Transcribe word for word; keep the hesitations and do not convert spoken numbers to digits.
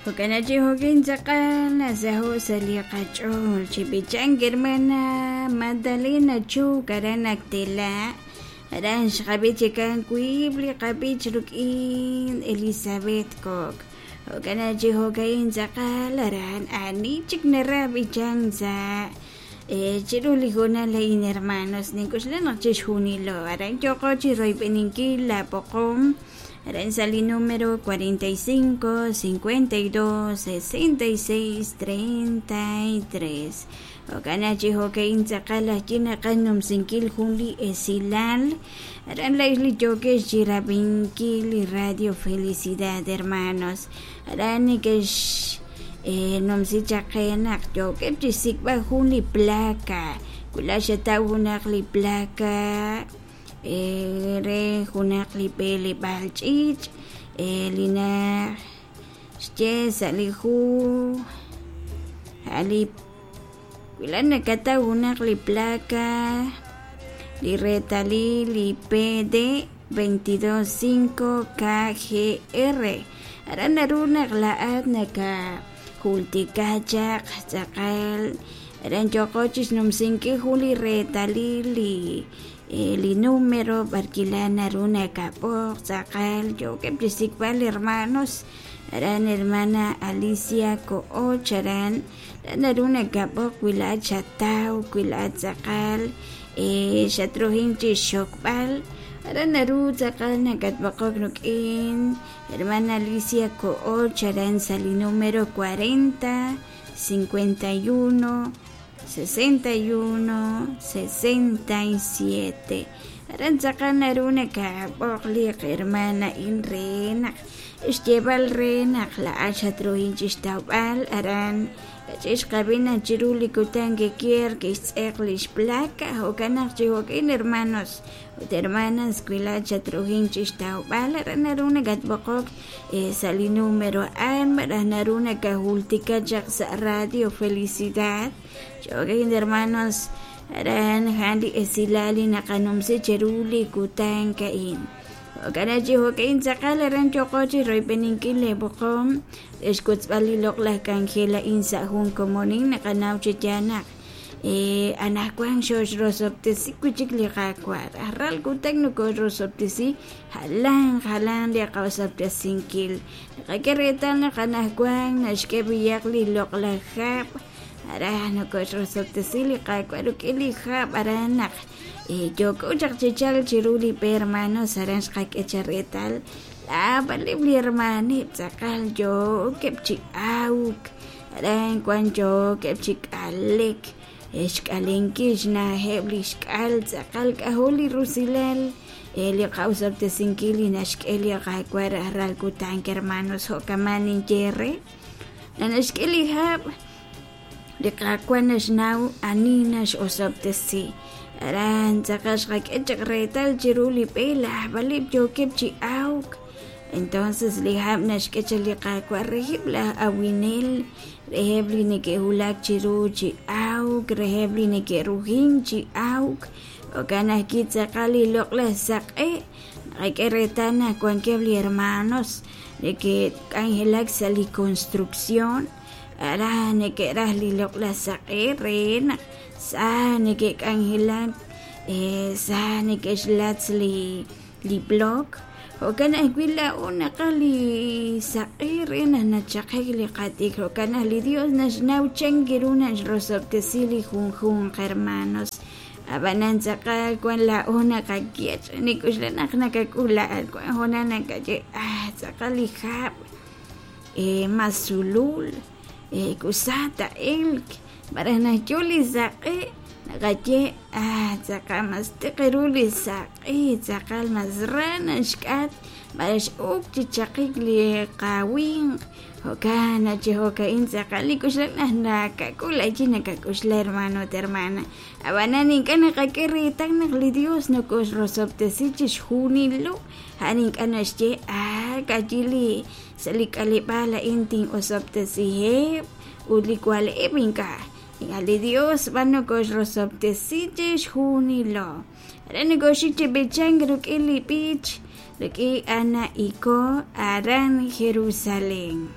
Jo'kan chi jo'kin tz'aqal nasaho' sa' li qach'ool chi b'ichank hermana Magdalena Chuc aran Actela aran xqab'i chikan wiib' li qab'ich ruk'in Elizabeth Coc jo'kan chi jo'ka'in tz'aqal aran ani chik naraj b'ichank sa' chiru li hoonal a'in hermanos nink'uxla naq chixjunilo aran yooqo chi royb'eninkil la poqom aran sa' li número cuarenta y cinco, cincuenta y dos, sesenta y seis, treinta y tres jo'kan chi jo'ka'in tz'aqal ajwi' naqanumsinkil jun li esilal aran la'ix li yookex chi rab'inkil li Radio Felicidad hermanos aran nekex numsi chaq qe naq yookeb' chi xsik'b'al jun li placa wila xataw junaq li placa re junaq li b'eleb'aal ch'iich' li naxye sa' li hu li wila nakataw junaq li placa li reetalil li P D veintidós cinco K G R aran naru naq la'at naka jultika chaq tz'aqal aran yooqo chi xnumsinkil jun li reetalil li li número b'arkila naru nakab'oq tz'aqal yookeb' chi xsik'b'al hermanos aran hermana Alicia Ko'och aran naru nakab'oq wila xataw wila tz'aqal xatrujin chi xokb'al aran naru tz'aqal nakatb'oqok ruk'in hermana Alicia Ko'och aran sa' li número cuarenta, cincuenta y uno, sesenta y uno, sesenta y siete aran tz'aqal naru nakab'oq li hermana in re naq xyeb'al re naq la'at xatrujin chi xtawb'al aran kach'ix qab'ina chiru li kutan kikier kixtz'eq lix placa jo'kan naq chi jo'kin hermanos ut hermanas wila xatrujin chi xtawb'al aran naru nakatb'oqok sa' li número a'an malaj naru nakajultika chaq sa' Radio Felicidad jo'kin hermanos aran jan li esilal li naqanumsi chiru li kutan ka'in jo'kan chi jo'kin tz'aqal aran yooqo chi royb'eninkil li b'oqom xkutzb'al li loq'laj k'anjel a'in sa' jun komonin naqanaw chi yaal naq anajwan xoxrosob'tesi wi' chik li Qaawa' rajlal kutan nokoxrosob'tesi jalan jalan li qaosob'tesinkil naqak'e reetal naq anajwan naxk'e b'iyaq li loq'laj hab' aran nokoxrosob'tesi li Qaawa' ruk'in li hab' aran naq yooko chaq chi chal chiru li b'e hermanos aran xqak'e cha reetal la'b'aleb' li hermanib' tz'aqal yookeb' chi awk aran wan yookeb' chi k'alek xk'alenkil xna'ajeb' li xk'al tz'aqal k'ajo li rusilal li qawsob'tesinkil li naxk'e li Qaawa' rajlal kutan hermanos jo'kaman ninye re naxk'e li hab' li Qaawa' naxnaw ani naxosob'tesi aran tz'aqal xqak'e chaq reetal chiru li b'e la'b'aleb' yookeb' chi awk entonces li hab' naxk'e chaq li Qaawa' reheb' laj awinel reheb' li neke'wulak chiru chi awk reheb' li neke'rujin chi awk jo'kan ajwi' tz'aqal li loq'laj saq'e naqak'e reetal naq wankeb' li hermanos neke'k'anjelak sa' li construcción aran neke'raj li loq'laj saq'e re naq sa neke'k'anjelak sa neke'xlatz li li block jo'kan ajwi' la'o naqaj li saq'e re naq nachaqek li qat'ik jo'kan naq li Dios naxnaw chan ru naxrosob'tesi li junjunq hermanos ab'anan tz'aqal wan la'o naqak'ech nik'uxla naq nakak'ul la'at wan hoonal nakaye ah tz'aqal li hab' masulul kusata elk malaj naxyo li saq'e naqaye ah tz'aqal mas tiq ru li saq'e tz'aqal mas ra naxk'at malaj x'uk chi chaqik li qawinq jo'kan chi jo'ka'in tz'aqal nik'uxla naq nakak'ul ayi nakak'uxla hermano ut hermana ab'anan ink'a' naqak'e reetal naq li Dios nokoxrosob'tesi chixjunilo a'an ink'a' naxye ah k'ayi li sa' li k'aleb'aal a'in tin'osob'tesiheb' ut li waleb' ink'a' li Dios b'an nokoxrosob'tesi chixjunilo aran nokoxik chi b'ichank ruk'in li b'ich ruk'in Ana Iko aran Jerusalén.